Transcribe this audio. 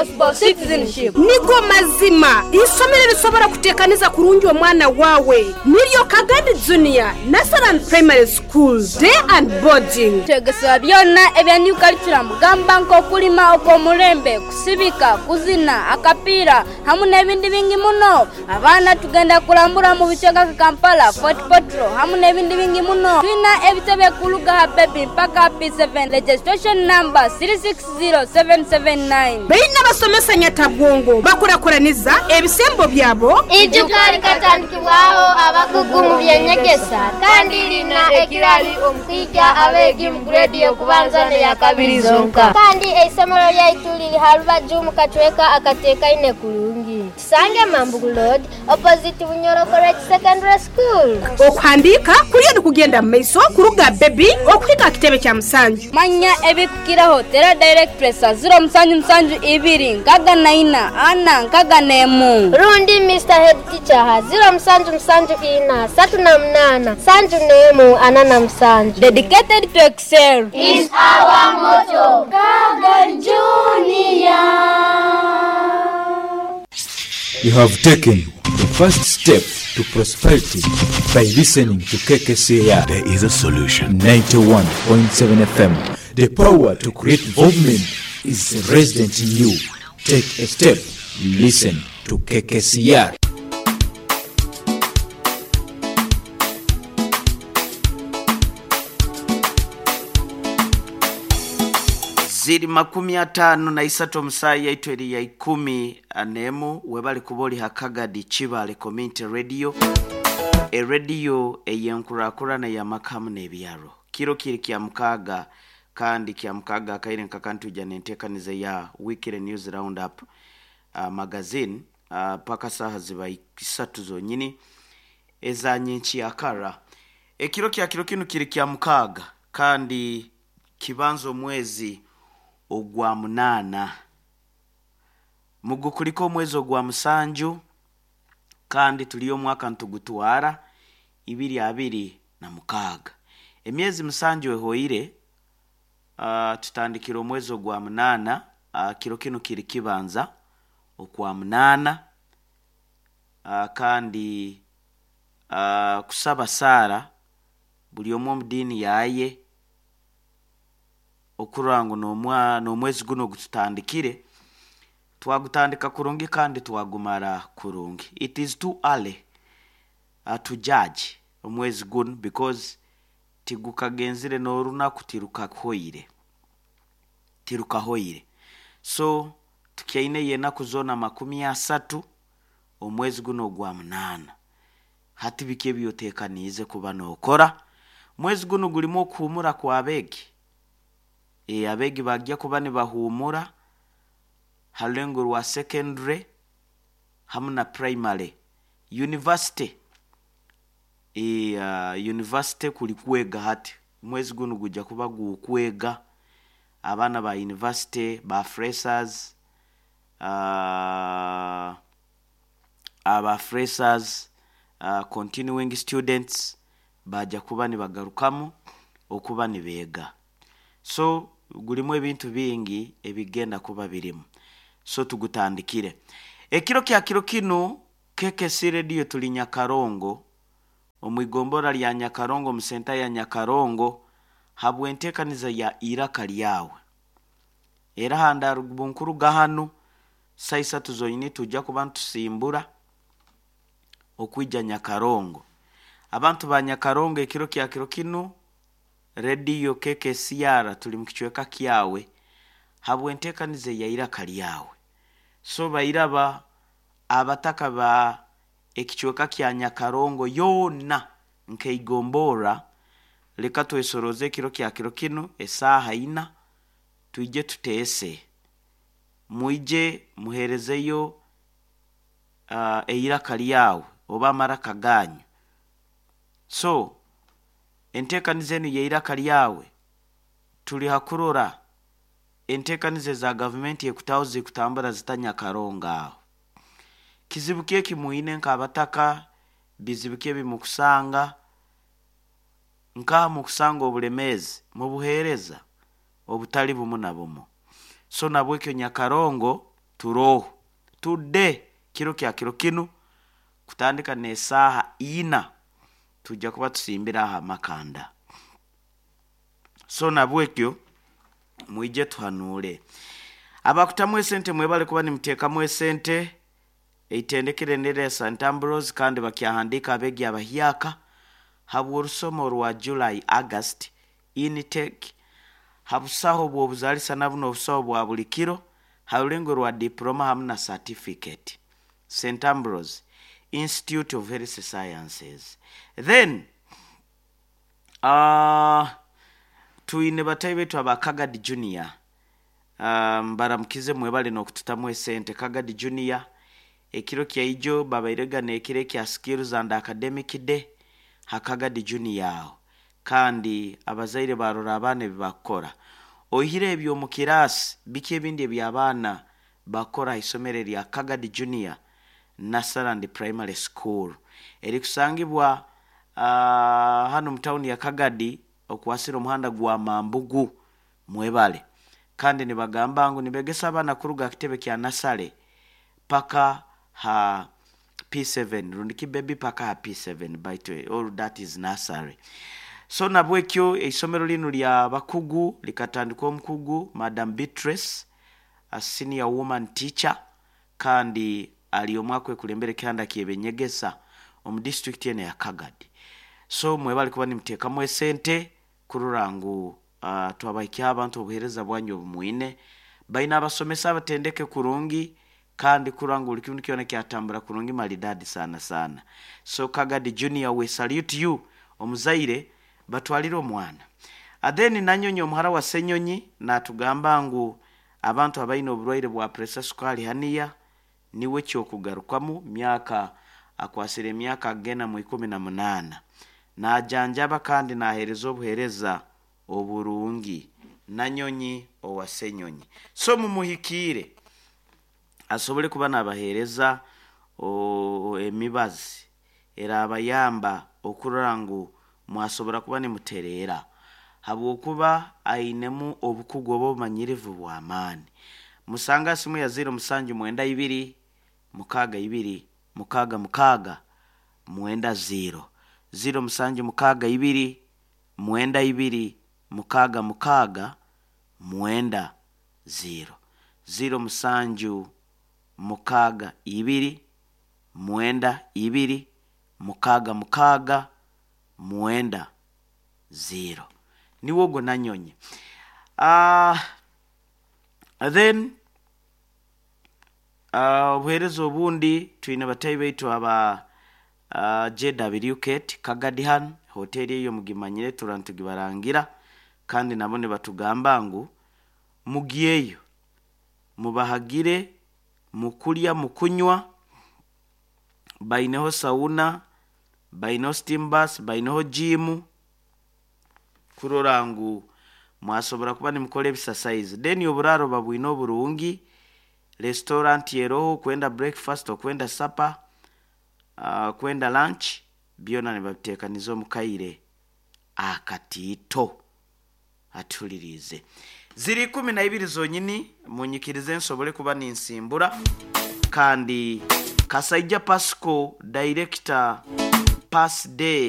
responsible citizenship. Nigo mazima, isomero erisobora kutekaniza kurungi omwana wawe niryo Kagadi Junior Nursery and Primary School Day and Boarding. Twegesebwa byona ebya New Curriculum gamba nk'okulima okw'omulembe, kusibika, kuzina, akapiira hamu n'ebindi bingi muno. Abaana tugenda kulambura mu bicweka nka Kampala, Fort Portal hamu n'ebindi bingi muno. Twina ebitebe kuluga ha Baby mpaka ha P7. Registration number 360779. Baine abasomesa nyatabwongo bakurakuraniza ebisembo byabo. Eijuka likatandikibwaho abakugu mu by'enyegesa kandi lina ekirali omu kwija abeegi mu guredi y'okubanza n'eyakabiri zonka. Kandi eisomero lyaitu liri ha rubaju mu kacweka akateekaine kurungi. Tusange Mambugu Road, opposite Bunyoro College Secondary School. Okuhandiika kuriyo nikugenda mu maiso kuruga Baby okuhika aha kitebe kya Musanju. Manya ebikukiraho tera direct presa ziro musanju musanju ibiri nkaga na ina ana nkaga n'emu. Rundi Mister Head Teacher ha ziro musanju musanju ina satu na munaana nsanju n'emu ana na musanju. Dedicated to excel. Is our motto. Kagan Junior. You have taken the first step to prosperity by listening to KKCR. There is a solution. 91.7 FM. The power to create movement is resident in you. Take a step. Listen to KKCR. Ziri 56 omusayi yaitu eri ya 11 webali kuba oli hakagadi Kibale Community Radio, erediyo ey'enkurakurana y'amakamu n'ebyaro. Kiro kiri kya mukaaga kandi kya mukaaga akaire nkakantuja n'enteekaniza ya Weekly News Roundup magazine paka saaha ziba isatu zonyini eza nyenkyakara. Ekiro kya kiro kinu kiri kya mukaaga kandi kibanza omwezi ogwa munaana mugukuliko omwezi ogwa musanju kandi tuli omwaka ntugutwara 2026. Emyezi musanju ehoire, tutandikira omwezi ogwa munaana, kiro kinu kiri kibanza okwa munaana, kandi kusaba saara buli omwe omu diini yaye okurora ngu n'omwezi guno ogututandikire twagutandika kurungi kandi twagumara kurungi. It is too early to judge omwezi guno because tigukagenzire n'orunaku tirukahoire. Tirukahoire. So tukyaine enaku zoona 30 omwezi guno ogwa munaana. Hati biki ebyoteekaniize kuba nookora? Mwezi guno gulimu okuhuumura kw'abeegi. Abeegi bagya kuba nibahuumura ha rulengo rwa secondary hamu na primary. University, university kuli kwega hati. Omwezi gunu gujja kuba gukwega. Abaana ba university, ba freshers, aba freshers, continuing students bajja kuba nibagarukamu okuba nibeega. So gulimu ebintu bingi ebigenda kuba birimu. So tugutandikire. Ekiro kya kiro kinu KKC Radio tuli Nyakarongo, omu igombora lya Nyakarongo, omu senta ya Nyakarongo, habw'enteekaniza ya iraka lyawe. Era handa bunkuruga hanu saa isatu zonyini tujja kuba nitusimbura okwija Nyakarongo. Abantu ba Nyakarongo ekiro kya kiro kinu Radio KKCR tuli mu kicweka kyawe habw'enteekaniza ya iraka lyawe. So bairaba abataka ba ekicweka kya Nyakarongo yoona nkeigombora, leka twesoroze ekiro kya kiro kinu esaaha ina twije tuteese. Mwije muheerezeyo eiraka lyawe oba amaraka ganyu. So enteekaniza enu y'eiraka lyawe tuli hakurora enteekaniza eza gavumenti ekutaho zikutambura zita Nyakarongo aho. Kizibu ki ekimwine nk'abataka, bizibu ki ebimukusanga, nkaha mukusanga obulemeezi mu buheereza obutali bumu na bumu. So nabwekyo Nyakarongo Turoho tudde kiro kya kiro kinu kutandika n'esaaha 4 tujja kuba tusimbira aha makanda. So nabwekyo mwije tuhanuule. Abakutamu esente, mwebale kuba nimuteekamu esente. Eitendekere nerya St Ambrose, kandi bakyahandiika abeegi abahyaka habw'orusomo rwa July August intake, habusaho bw'obuzaalisa nabuno obusaho bwa buli kiro ha rulengo rwa diploma hamu na certificate. St Ambrose Institute of Health Sciences. Then twine batayi baitu aba Kagadi Junior, mbaramukize, mwebale n'okututamu esente. Kagadi Junior ekiro kyaijo babairega n'ekiro ekya skills and academic day ha Kagadi Junior aho, kandi abazaire barora abaana ebi bakukora. Oihire ebyo omu kiraasi, biki ebindi eby'abaana bakora ha isomero erya Kagadi Junior Nursery and Primary School erikusangibwa hanu mu tawuni ya Kagadi, okwasira omuhanda gwa Mambugu? Mwebale. Kandi nibagamba ngu nibegesa abaana kuruga ha kitebe kya nasale paka ha P7, rundi ki baby paka ha P7, baitu all that is nursery. So nabwekyo eisomero linu lya bakugu likatandikwa omukugu Madam Beatrice, a senior woman teacher, kandi ali omu akwekulembera ekihanda ky'ebenyegesa omu disitulikiti eno ya Kagadi. So mwebale kuba nimuteekamu esente kurora ngu twabahikyaho abantu obuheereza bwanyu obu mwine. Baine abasomesa abatendeke kurungi, kandi kurora ngu buli kintu kyona kyatambura kurungi maridadi sana sana. So Kagadi Junior, we salute you. Omuzaire batwalire omwana. Then Nanyonyi omuhara wa Senyonyi natugamba ngu abantu abaine oburwaire bwa pressure, sukali, haniya, niwe kyokugarukamu. Myaka akwasire emyaka agenda mu 18, najanjaba kandi naheereza obuheereza oburungi. Nanyonyi owa Senyonyi, so mumuhikiire asobole kuba nabaheereza emibazi erabayamba okurora ngu mwasobora kuba nimutereera, habwokuba ainemu obukugu oba obumanyirivu bw'amaani. Musanga simu ya 0792 62 66 90, 0762 92 66 90, 0762 92 66 90, niwe ogwo Nanyonyi. Then obuheereza obundi, twine batayi baitu aba JW Kate Kagadihan hoteri, eyo mugimanyire, tura nitugibarangira, kandi nabo nibatugamba ngu mugyeyo mubahagire mukulya, mukunywa. Baineho sauna, baineho steam bath, baineho gym, kurora ngu mwasobora kuba nimukora ebisasaizi. Then oburaaro babwine oburungi, restaurant eroho, kwenda breakfast, okwenda supper, kwenda lunch, byona nibabiteekaniza omu kaire akatiito. Atuhuliriize. Ziri 12 zonyini, munyikirize nsobole kuba ninsimbura. Kandi Kasaija Pasco, director, pass day.